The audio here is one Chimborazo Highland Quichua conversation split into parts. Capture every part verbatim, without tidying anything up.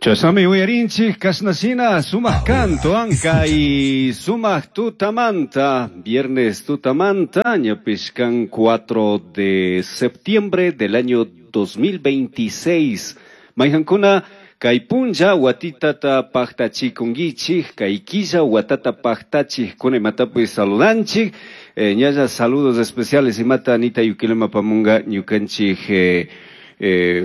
Chasami uyarinchik kashnashina sumaq canto y sumaq tutamanta, viernes tutamanta, ñapish kan cuatro de septiembre del año dos mil veintiséis. Mayhankuna kay punlla watitata paqtachikunkichik, kay killa watata paqtachik kuna imatapi saludanchik. Eh, ñalla saludos especiales imata Anita Yuquilema pamunga ñukanchik eh, Eh,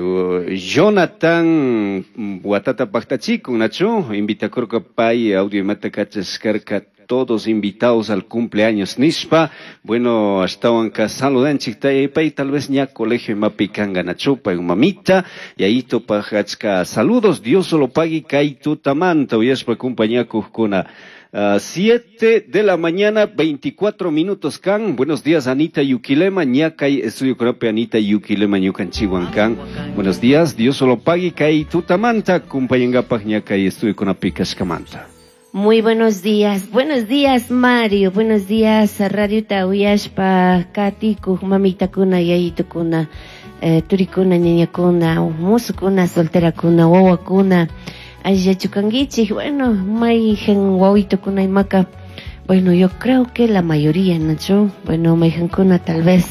Jonathan watata paqtachikun nachu invitakurka pay audio imata kachashkarka todos invitados al cumpleaños nishpa. Bueno, ashtawanka saludanchik pay tal vez ña colegio imapi kanga nachu pay mamita y ahí topajachka saludos Dios solo pague kay tutamanta uyashpa compañakujkuna. Uh, siete de la mañana, veinticuatro minutos kan. Buenos días, Anita Yuquilema. Ñakay estudio kunapi Anita Yuquilema ñukanchikwan kan. Buenos días, Dios solo pague kay tutamanta kumpañangapaj ñakay estudio kunapi kashkamanta. Muy buenos días, buenos días Mario, buenos días Radio Tauyashpa, Katiku, mamitakuna, yayitukuna, eh, turikuna, ñañakuna, musukuna, solterakuna, wawakuna. Ayachukanguichik, bueno, mayhan wawitukuna imaka, bueno, yo creo que la mayoría, ¿no? Bueno, mayhankuna tal vez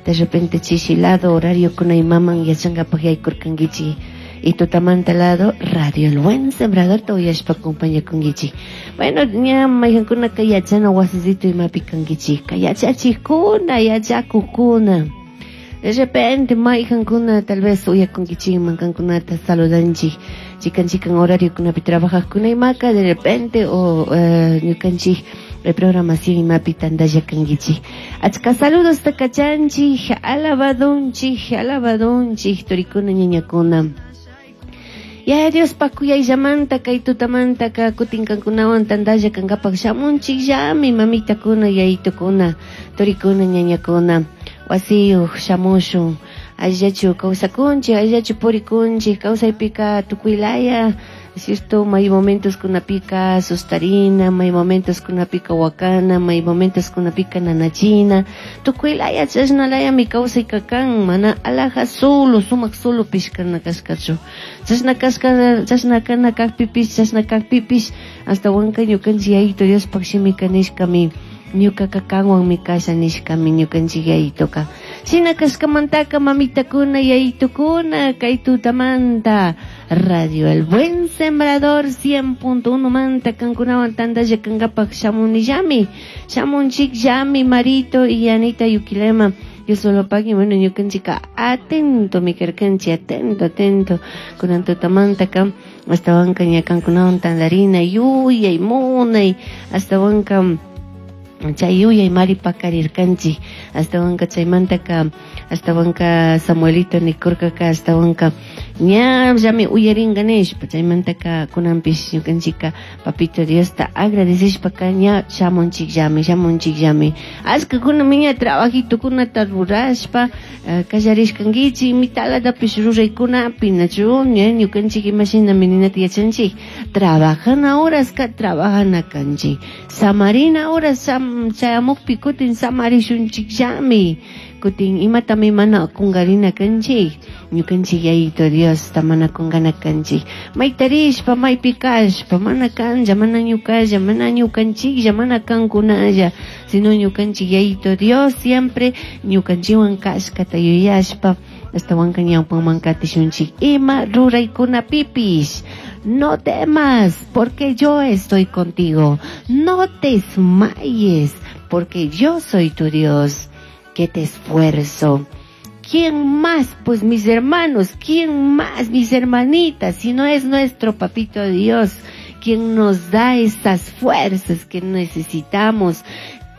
de repente chichilado, horario kuna imaman yachangapaj yaykurkanguichi, y tutamanta lado, Radio El Buen Sembrador tawiyashpa compañakunguichi. Bueno, ña mayhankuna ka yachana wasisito imapi kanguichi, ka yachachikuna, yachakukuna. De repente, mayhankuna tal vez uyakunkichikman kankunata saludanchik, chikan chikan horario kunapi trabajajkuna imaka, de repente, o ñukanchik programación imapi tandalla kankichik. Achka saludos takachanchik, alabadunchik, alabadunchik, turikuna ñañakuna. Ya Dios pakuyayllamanta kay tutamanta ka kutin kankunawan tandalla kankapaj shamunchik llami mamitakuna yayitukuna, turikuna ñañakuna. Wasiyuq shamushun, allachu kawsakunchik, allachu purikunchik, kawsaypika tukuylaya, cierto, may momentos kunapika sustarina, may momentos kunapika wakana, may momentos kunapika nanachina, tukuylaya chashnalayami kawsayka kan, mana alaja solo, sumaq solo pishkana kashkachu. Chashna kashka, chashna kana kajpipish, chashna kajpipish, hasta wanka ñukanchik yayito Diospaj shimika nishkami, ñukaka kanwanmi kasha nishkami ñukanchik yayitoka. Shina kashkamantaka mamitakuna yayitukuna kay tutamanta Radio El Buen Sembrador cien punto uno manta kankunawan tandalla kankapaj shamunillami, shamunchik llami Marito y Anita Yuquilema. Yo solo pagui, bueno, ñukanchika atento mi karkanchi, atento, atento kunan tutamanta ka hasta wanka ña kankunawan tandarina yuyay munay hasta wanka chay yuyay mari pakarirkanchik, hasta wanka chaymantaka, hasta wanka Samuelito nikurkaka, hasta wanka ña llami uyaringa nishpa, chaymantaka kunanpish ñukanchika papito Diosta agradecishpaka ña shamunchik llami, shamunchik llami. Ashkakuna ña trabajitukunata rurashpa kallarishkankichik, mitalatapish ruraykunapi, nachu ña ñukanchik imashinami ninata yachanchik, trabajana horaska trabajana kanchik, samarina horas chayamukpi kutin samarishunchik llami, kutin imatami mana kungarina kanchik, ñukanchik yayito Diosta mana kungana kanchik, maytarishpa maypi kashpa mana kanja, mana ñukalla, mana ñukanchiklla, mana kankunalla, sino ñukanchik yayito Dios siempre ñukanchikwan kashkata yuyashpa hasta wanka ñawpanman katishunchik ima ruraykunapipish. No temas, porque yo estoy contigo. No te desmayes, porque yo soy tu Dios, que te esfuerzo. ¿Quién más? Pues mis hermanos, ¿quién más? Mis hermanitas, si no es nuestro papito Dios, quien nos da esas fuerzas que necesitamos.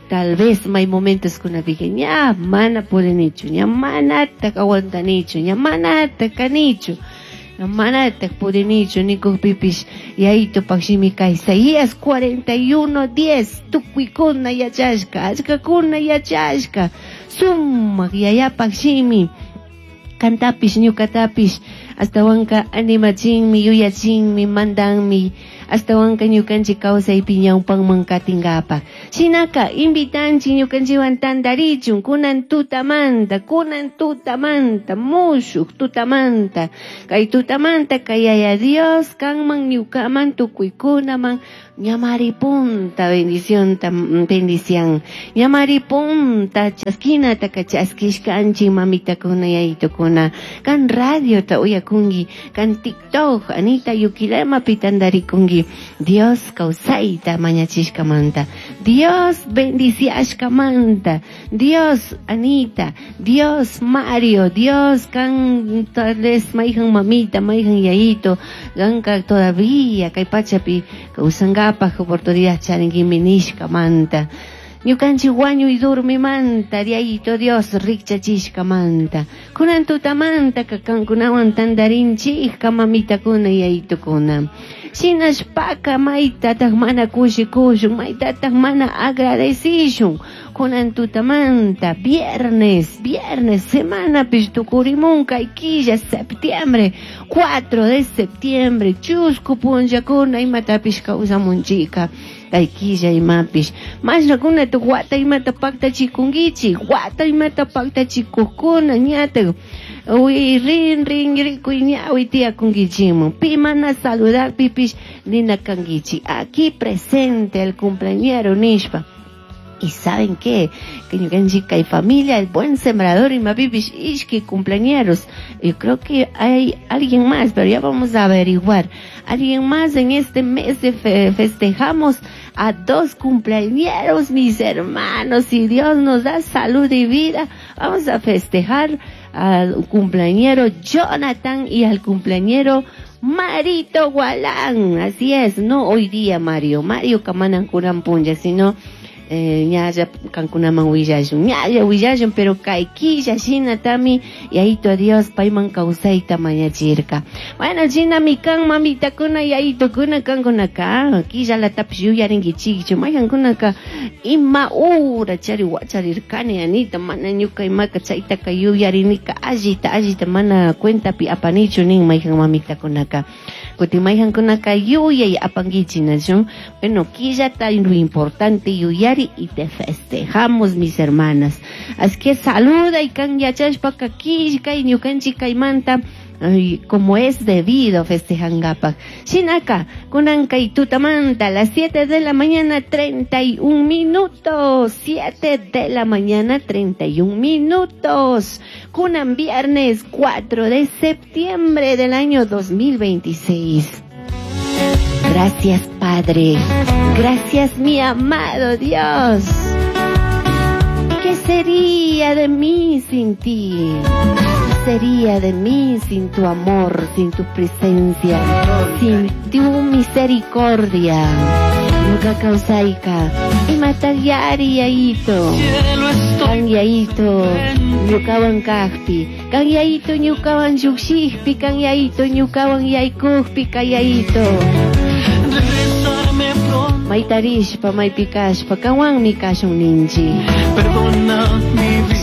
Tal vez hay momentos con la virgen, ya mana pueden hecho, ya mana te aguantan hecho, ya mana te canicho. Manataq purinichu nikuqpipish yayitupaq shimika Isaías cuarenta y uno diez tukuykuna yachashka, achkakuna yachashka, sumaq yayapaq shimi, kantapish ñukatapish, hasta wanka animachinmi, yuyachinmi, mandanmi, Ashtawanka ñukanchik kawsaypi ñawpanman katinkapak. Shinaka invitanchik ñukanchikwan tantarichun kunan tutamanta, kunan tutamanta, mushuk tutamanta. Kay tutamanta kay Yaya Dios kanman ñukaman tukuykunaman ñamari punta bendición bendición. Ñamari punta chaskinata chaskishkanchik mamitakuna yayitukuna. Kan radiota uyakunki, kan TikTok Anita Yuquilemapi tantarikunki. Dios kawsayta mañachishkamanta, Dios bendiciashkamanta, Dios Anita, Dios Mario, Dios kan tal vez mayhan mamita, mayhan yayito, kanka todavía kay pachapi kawsankapaj oportunidad charinkimi nishkamanta. Ñukanchik wañuy durmimanta, Yayito Dios rikchachishkamanta. Kunan tutamanta kankunawan tantarinchik mamitakuna yayitukuna. Shinashpaka maytataq mana kushikushun, maytataq mana agradecishun. Kunan tutamanta, viernes, viernes, semanapish tukurimun kay killa, septiembre, cuatro de septiembre, chusku punllakuna imatapish kawsamunchika. Kay killa imapish. Mashnakunata wata imata paktachikunkichik, wata imata paktachikukkuna ñatak. Uy, rin, rin, rikuy ñawi tiyakunkichikman. Pi mana saludakpipish nina kankichik. Aquí presente el cumpleañero nishpa. ¿Y saben qué? Que ñukanchik kay familia, el buen sembrador y mapipish ishki cumpleañeros. Yo creo que hay alguien más, pero ya vamos a averiguar. Alguien más en este mes de fe, festejamos a dos cumpleañeros, mis hermanos. Si Dios nos da salud y vida, vamos a festejar al cumpleañero Jonathan y al cumpleañero Marito Gualán. Así es, no hoy día Mario, Mario kamanan kunan punlla, sino eh, ñalla kankunaman willashun, ñalla willashun, pero kay killa shinatami yayito Dios payman kawsayta mañachirka. Bueno, shinami kan mamitakuna yayitukuna kankunaka killalatapish yuyarinkichikchu, mayhankunaka ima ura chari wacharirkani Anita, mana ñuka imaka chaytaka yuyarinika allita allita mana cuentapi apanichu nin mayhan mamitakunaka. Kutin mayhankunaka yuyay apankichik nachu. Bueno, killata lo importante yuyari y te festejamos, mis hermanas. Así que saluda y kan yachashpaka killkay ñukanchik kaymanta, ay, como es debido festejangapak. Shinaka, kunan kay tutamanta, a las siete de la mañana, treinta y un minutos. siete de la mañana, treinta y un minutos. Kunan viernes cuatro de septiembre del año dos mil veintiséis. Gracias, Padre. Gracias, mi amado Dios. ¿Qué sería de mí sin ti? ¿Qué sería de mí sin tu amor, sin tu presencia, sin tu misericordia? Ñuka kawsayka, imatayari yayito, kan yayito, ñukawan kajpi, kan yayito ñukawan llukshikpi, kan yayito ñukawan yaykukpi, kan yayito. Maytarishpa, maypikashpa, kanwanmi kashun ninchik.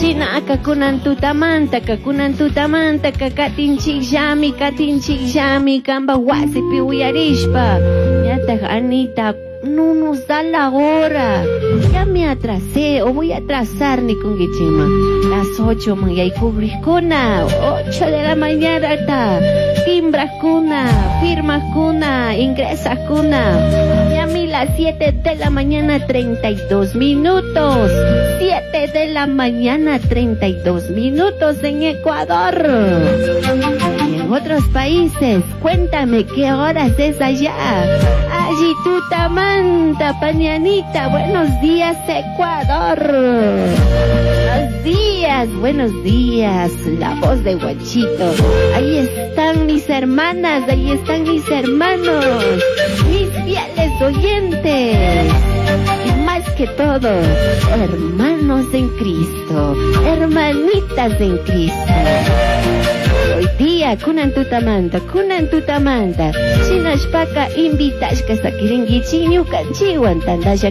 Shinaka kunan tutamanta, kunan tutamanta, katinchikllami, katinchikllami, kanpa wasipi uyarishpa. Ñataj Anita, no nos da la hora. Ya me atrasé o voy a atrasar ni con guichima. Las ocho man yaykugrikuna, ocho de la mañana ta. Timbrajkuna, firmajkuna, ingresajkuna. Ya mi las siete de la mañana, treinta y dos minutos. Siete de la mañana, treinta y dos minutos en Ecuador. Y en otros países, cuéntame qué horas es allá. Allí tutamanta, pañanita, buenos días, Ecuador. Buenos días, buenos días, la voz de Guachito. Ahí están mis hermanas, ahí están mis hermanos, mis fieles oyentes. Y más que todo, hermanos en Cristo, hermanitas en Cristo. Hoy día, kunan tutamanta, kunan tutamanta, shinashpaka invitashka sakirinkichik ñukanchikwan tantalla